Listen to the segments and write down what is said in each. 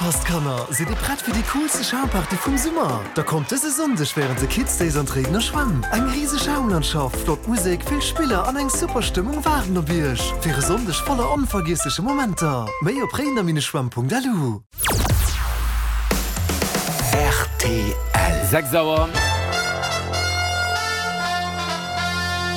Opgepasst Kanner, sidd dir prett fir déi coolste Schaumparty vum Summer? Da kommt dëse Sonndeg wärend de Kids Days an d'Réidener Schwämm. Eng riseg Schaumlandschaft, flott Musek, vill Spiller an eng super Stëmmung waarden op iech fir e Sonndeg voller onvergiessleche Momenter. Méi op réidener-schwämm.lu. Rtl. 6 Auer.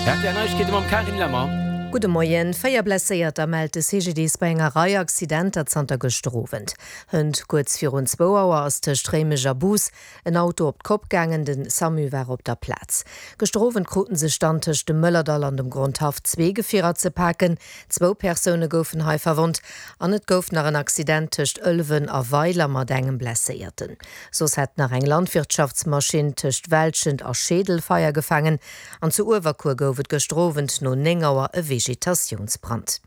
Rtl Neiegkeete mam Carine Lemmer. Gudde Moien. 4 Blesséierter mellt de CGDIS bei enger Rei Accidenter zanter gëschter Owend. Hënt kuerz virun zwou Auer ass tëscht Réimech a Bous en Auto op d'Kopp gaangen. De Samu war op der Plaz. Gëschter Owend kruten sech dann tëscht dem Mëllerdall an dem Grondhaff zwee Gefierer ze paken. Zwou Persoune goufen hei verwonnt an et gouf nach en Accident tëscht Ëlwen a Weiler mat engem Blesséierten. Soss hätt nach eng Landwirtschaftsmaschinn tëscht Welschent a Scheedel Feier gefaangen an zu Uewerkuer gouf et gëschter Owend no 9 Auer e Vegetatiounsbrand.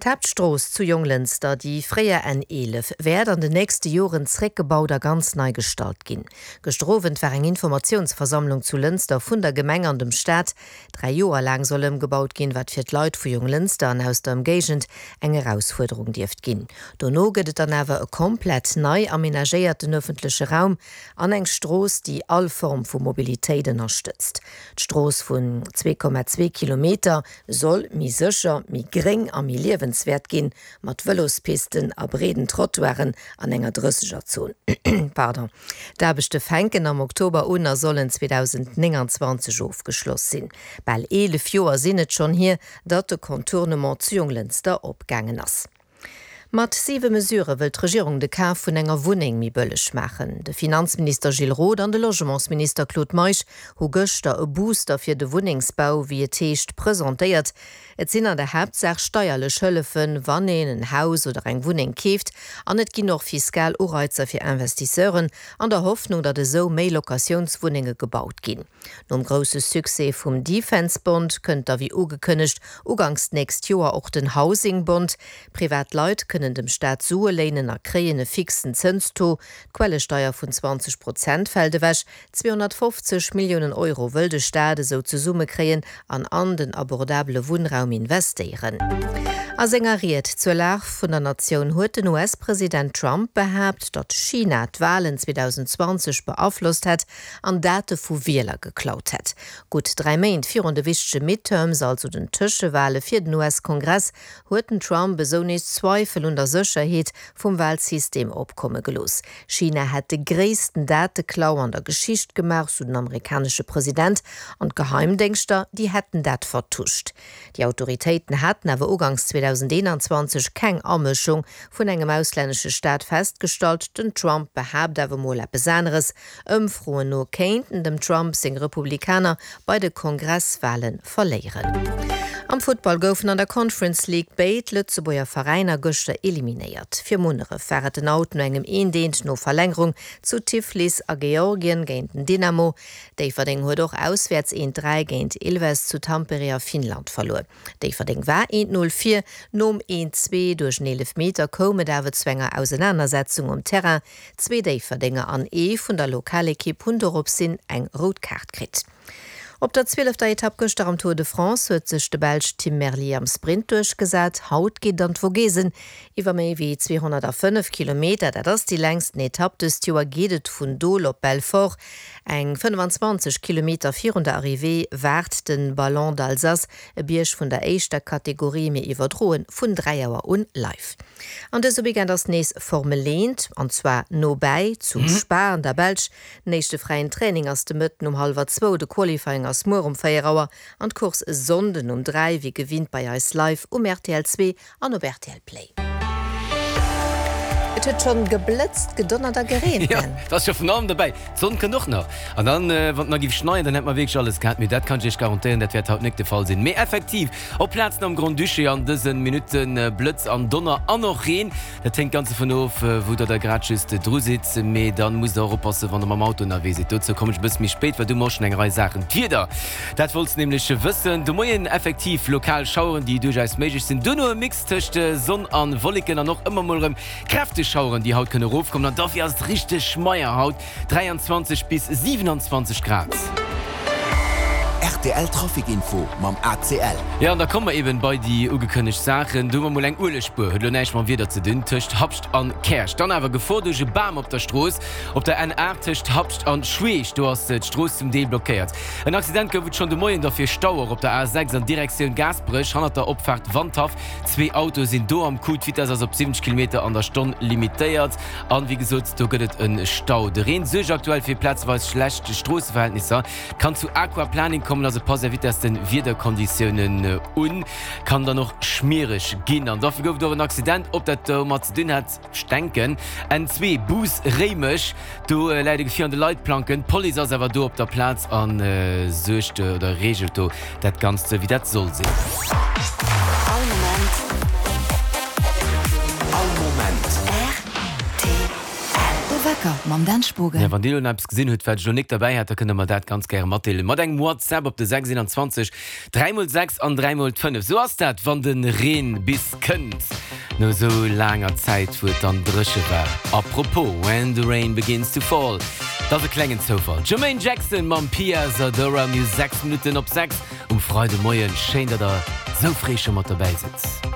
D'Haaptstrooss zu Jonglënster, déi fréier N 11, wäert an den nächste Joren zréckgebaut a ganz nei gestallt ginn. Gëschter Owend war eng Informatiounsversammlung zu Lënster vun der Gemeng an dem Staat. Dräi Joer laang soll ëmgebaut ginn, wat fir d'Leit vu Jonglënster an aus der Ëmgéigend eng Erausfuerderung dierft ginn. Dono gëtt et dann awer e komplett nei amenagéierten ëffentleche Raum an eng Strooss, déi all Form vu Mobilitéit ënnerstëtzt. D'Strooss vun 2,2 Kilometer soll méi sécher, méi gréng a méi liewenswäert ginn, mat Vëlospisten a breeden Trottoiren an enger Drëssegerzon. D'Aarbechte fänken am Oktober un a sollen 2029 ofgeschloss sinn. Bal 11 Joer sinn et schonn hier, datt de Contournement zu Jonglënster opgaangen ass. Mat siwe Mesurë wëll d'Regierung de Kaf vun enger Wunneng méi bëlleg maachen. De Finanzminister Gilles Roth an de Logementsminister Claude Meisch hu gëschter e Booster fir de Wunnengsbau, wéi et heescht, presentéiert. Et sinn an der Haaptsaach steierlech Hëllefen, wann een en Haus oder eng Wunneng keeft, an et ginn och fiskal Ureizer fir Investisseuren, an der Hoffnung, datt esou méi Locatiounswunnenge gebaut ginn. Nom grousse Succès vum Defence Bond kënnt da wéi ugekënnegt uganks d'nächst Joer och den Housing Bond. Privat Leit kënnen dem Staat Sue léinen a kréien e fixen Zënstaux. D'Quellesteier vun 20 Prozent fält ewech. 250 Milliounen Euro wëll de Staat esou zesummekréien an an den abordabele Wunnraum investéieren. A senger Ried zur Lag vun der Natioun huet den US-President Trump behaapt, datt China d'Walen 2020 beaflosst hätt. an Date vu Wieler geklaut hätt. Gutt 3 Méint virun de wichtege Midterms, also den Tëschewale fir den US-Kongress, huet den Trump esou nees Zweifel un der Sécherheet vum Walsystem opkomme gelooss. China hätt de gréissten Dateklau an der Geschicht gemaach, sou den amerikanesche President, an d'Geheimdéngschter, déi hätten dat vertuscht. Déi Autoritéiten haten awer uganks 2021 keng Amëschung vun engem auslännesche Staat festgestallt. Den Trump behaapt awer mol eppes aneres, Ëmfroen no kéinten dem Trump seng Republikaner bei de Kongresswale verléieren. Am Futtball goufen an der Conference League béid Lëtzebuerger Veräiner gëschter eliminéiert. Fir Munneref war et den Out no engem eent eent no Verlängerung zu Tiflis a Georgien géint den Dynamo. Déifferdeng huet och auswäerts eent 3 géint Ilves zu Tampere a Finnland verluer. Déifferdeng war eent 0 vir, nom eent 2 duerch en Eelefmeter koum et awer zu enger Ausenanersetzung um Terrain. Zwee Déifferdenger an ee vun der Lokalekipp hunn doropshin eng rout Kaart kritt. Op der zwielefter Etapp gëschter am Tour de France huet sech de Belsch Tim Merlier am Sprint duerchgesat. Haut geet et an d'Vogesen. Iwwer méi wéi 205 Kilometer, dat ass déi längsten Etapp dëst Joer, geet et vun Dole op Belfort. Eng 25 Kilometer virun der Arrivée waart de Ballon d'Alsace, e Bierg vun der éischter Kategorie. Mir iwwerdroe vun 3 Auer un live. An dëse Weekend ass nees Formel 1, an zwar nobäi, zu Spa an der Belsch. Den éischte fräien Training ass de Mëtten um hallwer zwou, de Qualifying ass muer um 4 Auer an d'Course e Sonnden um 3, wéi gewinnt bei eis live um rtl 2 an op rtl Play. Et huet schonn geblëtzt, gedonnert a gereent, Jo, et ass scho vun allem dobäi. D'Sonn kënnt och nach. An dann, wann et nach géif schneien, dann hätt mer wierklech alles gehat. Mee dat kann ech Iech garantéieren, dat wäert haut nek de Fall sinn. Mee effektiv, Op Plazen am Grand-Duché an dësen Minutten Blëtz an Donner an och Reen. Dat héngt ganz dovun of, wou der da grad just dru sidd. Mee dann musst der och oppassen, wann der mam Auto ënnerwee sidd. Dozou kommen ech e bësse méi spéit, well do hu mer och schonn eng Rei Saachen. D'Wieder, dat wollts de nämlech wëssen. De Moien effektiv lokal Schaueren, déi duerchaus méiglech sinn. Duerno e Mix tëscht Sonn a Wolleken an och ëmmer mol erëm kräfteg Schaueren, déi haut kënne erofkommen. An dofir ass et richteg schmeier haut, 23 bis 27 Grad. Rtl Trafic Info mam ACL. Jo, an da komme mer eben bei déi ugekënnegt Saachen. Do hu mer mol eng Uelegspuer, huet elo näischt mam Wieder ze dinn, tëscht Habscht an Käerch. Dann awer Gefor duerch e Bam op der Strooss op der N8 tëscht Habscht an Schweech. Do ass d'Strooss zum Deel blockéiert. En Accident gouf et schonn de Moien derfir Stau och op der A6 an Direktioun Gaasperech hannert der Opfaart Wandhaff. Zwee Autoe sinn do am Coup. D'Vitess ass op 70 Kilometer an der Stonn limitéiert. An wéi gesot, do gëtt et e Stau. De Reen suergt aktuell fir plazeweis schlecht Stroosseverhältnisser. Kann zu Aquaplaning kommen, also passt är Vitess den Wiederkonditiounen un. Kann dann och schmiereg ginn. An dofir gouf et och en Accident. Ob dat domat ze dinn hat, ech denken. N2 Bus Réimech, do läit e Gefier an de Leitplanken. D'Police ass awer do op der Plaz a suergt oder reegelt do dat Ganzt sou wéi dat soll sinn. All Moment. All Moment. Rtl. De Wecker mam Dan Spogen. Ja, wann Dir elo nach eppes gesinn hutt, wat ech elo nik derbäi hat, da kënnt Der mer dat ganz gäre matdeelen mat engem WhatsApp op de 6 21 3 mol 6 an 3 mol 5. Sou ass dat, wann de Reen bis kënnt, no esou laanger Zäit, wou et dann dréche war. A propos, When the rain begins to fall, dat ass e klengen Zoufall. Jermaine Jackson mam Pia Zadora. Mir hu 6 Minutten op 6 um Freidemoien. Schéin, datt Der esou fréi scho mat derbäi sidd.